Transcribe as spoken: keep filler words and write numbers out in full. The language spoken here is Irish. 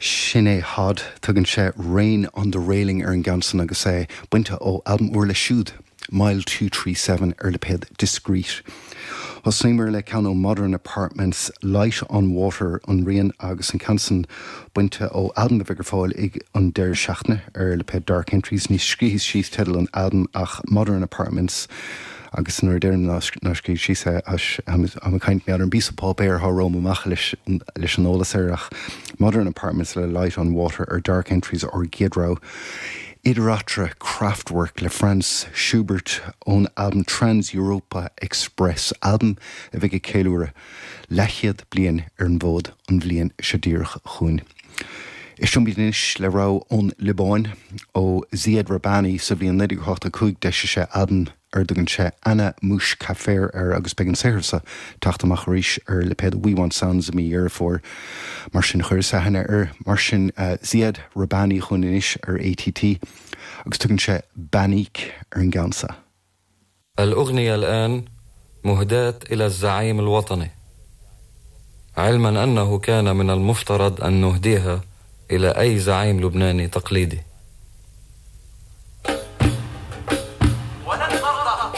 Sin é Hod tugann sé Rain on the Railing ar an gceann san agus é bainte ó albam úr leis siúd, Mile Two Three Seven ar lipéad Discreet. Thosaíomar le ceann ó Modern Apartments Light on Water an rian agus an ceann san bainte ó albam a bheidh ar fáil ag an deireadh seachtaine ar lipéad Dark Entries ní scríobhas síos teideal an albaim ach Modern Apartments agus nuair a deirim nár scríobh síos é am caint mé ar an bpíosa páipéir atá romham amach leis leis an eolas air ach Modern Apartments le Light on Water ar Dark Entries ár gcéad rogha. Idir eatarthu Kraftwerk le Franz Schubert ón albam Trans Europa Express albam a bheidh ag ceiliúradh leathchéad bliain ar an bhfód an bhliain seo díreach chugainn. Éistfimid anois le rogha ón Liobáin ó Ziad Rahbani sa bhliain naoi déag ochtó cúig d'eisigh sé albam ar a dtugann sé Ana Mouch Kafer air agus beidh an saothar seo ag teacht amach arís ar lipéad We Want Sounds i mí Dheireadh Fómhair. Mar sin chuireas aithne air mar sin Ziad Rahbani chugainn anois ar ATT agus tugann sé Banik ar an gceann seo. الأغنية الآن مهداة إلى الزعيم الوطني علما أنه كان من المفترض أن نهديها إلى أي زعيم لبناني تقليدي